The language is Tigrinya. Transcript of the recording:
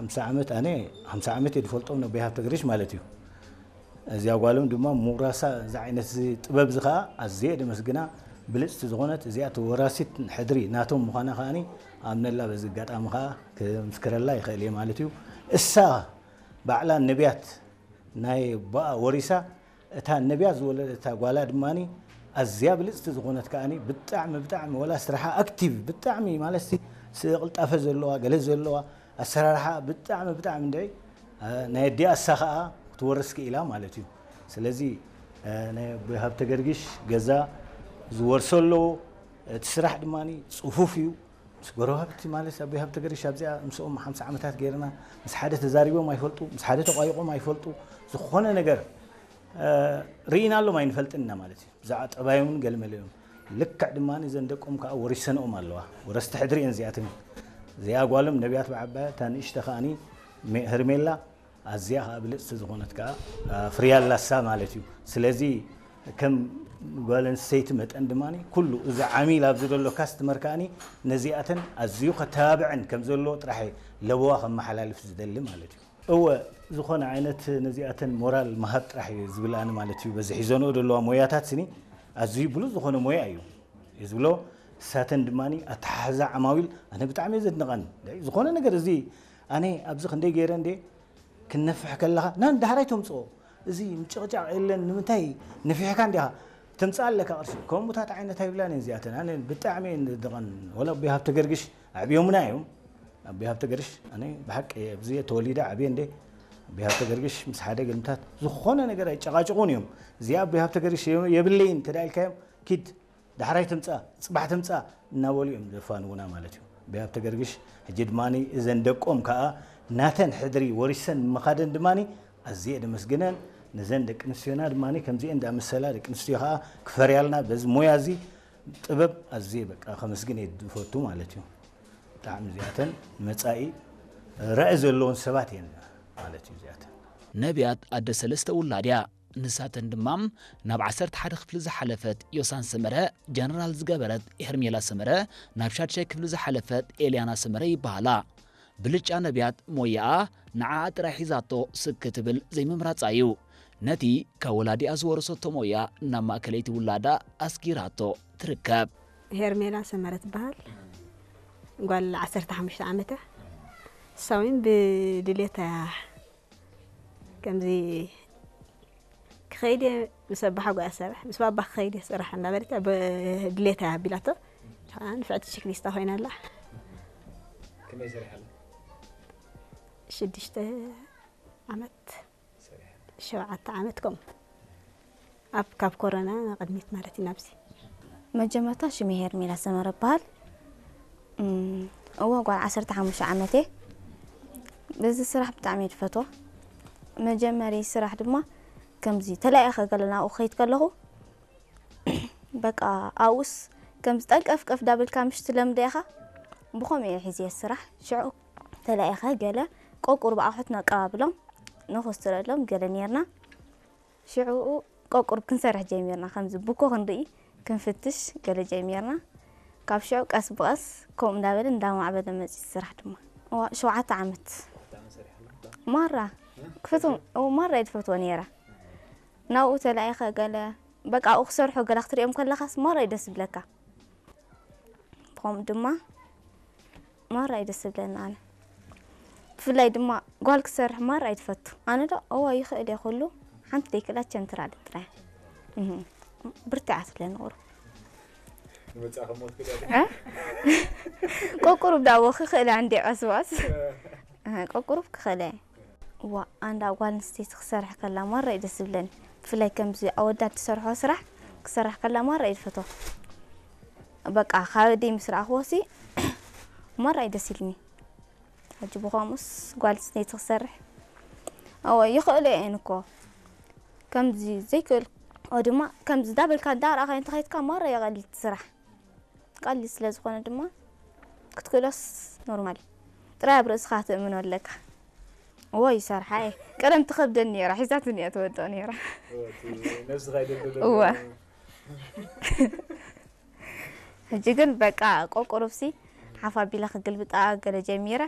ሓምሳ ዓመት ኣነ ሓምሳ ዓመት እየ ዝፈልጦም ነቦይ ሃብተገርግሽ ማለት እዩ። እዚኣ ጓሎም ድማ ምውራሳ እዚ ዓይነት እዚ ጥበብ እዚ ከዓ ኣዝየ ደመስግና። ብልፅቲ ዝኾነት እዚኣ ተወራሲት ሕድሪ ናቶም ምዃና ከዓኒ ኣምነላ። በዚ ኣጋጣሚ ከዓ ክምስክረላ ይኽእል እየ ማለት እዩ። እሳ ባዕላ ነቢያት ናይ ኣቦኣ ወሪሳ፣ እታ ነቢያት ዝወለደታ ጓላ ድማ ኣዝያ ብልፅቲ ዝኾነት ከዓኒ ብጣዕሚ ብጣዕሚ ወላ ስራሓ ኣክቲቭ ብጣዕሚ ማለት ሲ ቅልጣፈ ዘለዋ ገለ ዘለዋ ኣሰራርሓ ብጣዕሚ ብጣዕሚ እንድዒ ናይ ኣዲኣ እሳ ከዓ ክትወርስ ክኢላ ማለት እዩ። ስለዚ ናይ ኣቦይ ሃብተገርግሽ ገዛ ዝወርሶ ኣለዎ። እቲ ስራሕ ድማ ፅፉፍ እዩ። ምስ ጎረባብቲ ማለት ኣቦይ ሃብተገርግሽ ኣብዚኣ ምስኦም ሓምሳ ዓመታት ገይርና ምስ ሓደ ተዛሪቦም ኣይፈልጡ፣ ምስ ሓደ ተቋይቖም ኣይፈልጡ። ዝኾነ ነገር ርኢናሎም ኣይንፈልጥን ኢና ማለት እዩ። ብዛዕባ ጠባዮምን ገለመለኦም ልክዕ ድማ እዘን ደቆም ከዓ ወሪሰንኦም ኣለዋ። ወረስቲ ሕድሪ እየን እዚኣተን። እዚኣ ጓሎም ነቢያት ብዓባያ፣ እታ ንእሽተ ከዓኒ ሜ- ሄርሜላ ኣዝያ ከዓ ብልፅቲ ዝኾነት ከዓ ኣፍርያ ኣላሳ ማለት እዩ። ስለዚ ከም ጓል ኣንስተይቲ መጠን ድማ ኩሉ እዚ ዓሚል ኣብዚ ዘሎ ካስትመር ከዓኒ ነዚኣተን ኣዝዩ ከተባብዐን ከም ዘለዎ ጥራሕ ለበዋ ከመሓላልፍ ዝደሊ ማለት እዩ። እወ ዝኾነ ዓይነት ነዚኣተን ሞራል ምሃብ ጥራሕ እዩ ዝብል ኣነ ማለት እዩ። በዚ ሒዘንኦ ዘለዋ ሞያታት ስኒ ኣዝዩ ብሉፅ ዝኾነ ሞያ እዩ እዩ ዝብሎ። እሳተን ድማ ኣተሓሕዛ ዓማዊል ኣነ ብጣዕሚ እየ ዘድንቐን። ዝኾነ ነገር እዚ ኣነ ኣብዚ ክንደይ ገይረ እንደ ክነፍሕ ከለኻ ናን ዳሕራይ ተምፅኦ እዚ ምጭቕጫቕ የለን። ንምንታይ ነፊሕካ እንዲኻ ተምፅኣ ኣለካ ቅርሺ። ከምኡታት ዓይነት ኣይብላን እየን እዚኣተን። ኣነ ብጣዕሚ እየን ዘድንቐን። ወላ ኣቦይ ሃብተገርግሽ ኣዕብዮምና እዮም። ኣቦይ ሃብተገርግሽ ኣነ ብሓቂ ኣብዚ እየ ተወሊደ ዓብየ እንደ ኣቦይ ሃብተገርግሽ ምስ ሓደ ገልምታት ዝኾነ ነገር ኣይጨቃጭቑን እዮም። እዚኣ ኣቦይ ሃብተገርግሽ የብለይን እንተ ኢልካዮም ኪድ ዳሕራይ ትምጻእ፣ ጽባሕ ትምጻእ እናበሉ እዮም ዘፋንዉና ማለት እዩ። ኣቦይ ሃብተገርግሽ ሕጂ ድማ እዘን ደቆም ከኣ ናተን ሕድሪ ወሪሰን ምኻደን ድማ ኣዝየ ደመስግነን። ነዘን ደቂ ኣንስትዮና ድማ ከምዚአን እንዳመሰላ ደቂ ኣንስትዮ ከኣ ክፈርያልና በዚ ሞያ እዚ ጥበብ ኣዝየ በቃ ከመስግን እየ ዝፈቱ ማለት እዩ። ብጣዕሚ እዚኣተን ንመጻኢ ራኢ ዘለዎን ሰባት እየን ማለት እዩ እዚኣተን። ነቢያት ኣደ ሰለስተ ውላድ እያ። ንሳተን ድማ ናብ ዓሰርተ ሓደ ክፍሊ ዝሓለፈት ዮሳን ሰመረ፣ ጀነራል ዝገበረት ሄርሜላ ሰመረ፣ ናብ ሻድሻይ ክፍሊ ዝሓለፈት ኤልያና ሰመረ ይበሃላ። ብልጫ ነቢያት ሞያኣ ንዓኣ ጥራይ ሒዛቶ ስክ ክትብል ዘይምምራጻ እዩ። ነቲ ካብ ወላዲኣ ዝወረሰቶ ሞያ ናብ ማእከለይቲ ውላዳ ኣስጊራቶ ትርከብ። ሄርሜላ ሰመረ ትበሃል። ጓል ዓሰርተ ሓሙሽተ ዓመት እያ። እሳ እውን ብድሌታ እያ። ከምዚ ክኸይድ እየ ምስ ኣባሓጎኣ ስራሕ፣ ምስ ባባ ክኸይድ እየ ስራሕ እንዳበለት እያ ብድሌታ እያ ኣቢላቶ። ንፍዕቲ ችክሊስታ ኮይና ኣላ። ከመይ ሰሪሓ ኣላ? ሽዱሽተ ዓመት፣ ሰሪሓ ኣላ። ሸውዓተ ዓመት ከምኡ። ኣብ ካብ ኮሮና ቅድሚት ማለት እዩ ናብዚ። መጀመርታ ሽመይ ሄርሜላ ሰመረ እበሃል። እም፣ እወ ጓል ዓሰርተ ሓሙሽተ ዓመት እየ። በዚ ስራሕ ብጣዕሚ እየ ዝፈትዎ። መጀመሪ ስራሕ ድማ ከምዚ ተላኢኸ ገለ ናብኡ ክኸይድ ከለኹ በቃ ኣብኡስ ከምዚ ጠንቀፍቀፍ ዳበልካ ምሽ ትለምዶ ኢኻ። ብኸምኡ እየ ሒዘ ስራሕ። ሽዑ ተላኢኸ ገለ ቆቁር ብኣቑሑት ነቀባብሎም፣ ነኾስትረሎም ገለ ኔርና። ሽዑኡ ቆቁር ክንሰርሕ ጀሚርና። ከምዚ ቡኮ ክንርኢ፣ ክንፍትሽ ገለ ጀሚርና። ካብ ሽዑ ቀስ ብቐስ ከምኡ እንዳበለ እንዳማዕበለ መጺኡ ስራሕ ድማ። እዋ፣ ሸውዓተ ዓመት። ማራ ክፈትዎ፣ እዎ፣ ማራ እየ ዝፈትዎ ነይረ። ናብኡ ተላኢኸ ገለ፣ በቃ ኣብኡ ክሰርሑ ገለ ክትሪኦም ከለኻስ ማራ እዩ ደስ ዝብለካ። ብኸምኡ ድማ ማራ እዩ ደስ ዝብለኒ ኣነ። ብፍላይ ድማ ጓል ክሰርሕ ማራ እዩ ትፈቱ። ኣነ ዶ፣ እዎ፣ ይኽእል እየ ኩሉ። ሓንቲ ደይክእላ ቸንትራ ጥራይ። እህ፣ ብርትዓ ትብለኒ ቁሩብ። ንመጻእኸ እሞ ትክእሊ ኣለኺ? እ? ቆቁሩብ ዳቦ ክኽእላ እንዴ ቀስባስ? እ። እ፣ ቆቁሩብ ክኽእለ። እዋ፣ ኣንዳ ጓል ኣንስተይቲ ክሰርሕ ከላ ማራ እዩ ደስ ዝብለኒ። ብፍላይ ከምዚ ኣወዳት ዝሰርሖ ስራሕ ክሰርሕ ከላ ማራ እዩ ዝፈትዎ። በቃ፣ ካብ ኣደይ ምስ ረኣኽዎሲ ማራ እዩ ደስ ኢልኒ። ሕጂ ብኸምኡስ ጓል ኣንስተይቲ ክሰርሕ፣ እወ፣ ይኽእሎ እየን እኮ። ከምዚ ዘይክእል፣ ኦ፣ ድማ ከምዚ ዳበልካ እንዳረኣኻዮ እንተኸይድካ ማራ የቐልል እቲ ስራሕ። ቀሊል ስለ ዝኾነ ድማ ክትክእሎስ ኖርማል እዩ። ጥራይ ኣብ ርእስኻ ትእምኖ ኣለካ። እዎ ይሰርሓ እየ። ቀደም ትኸብደኒ ነይራ፣ ሒዛትኒ እያ ትወድቕ ነይራ። እዎ፣ እቲ ነብስኻ ይደልዶ እወ። ሕጂ ግን በቃ ቆቁሩብሲ ሓፍ ኣቢለ ክግልብጣ ገለ ጀሚረ።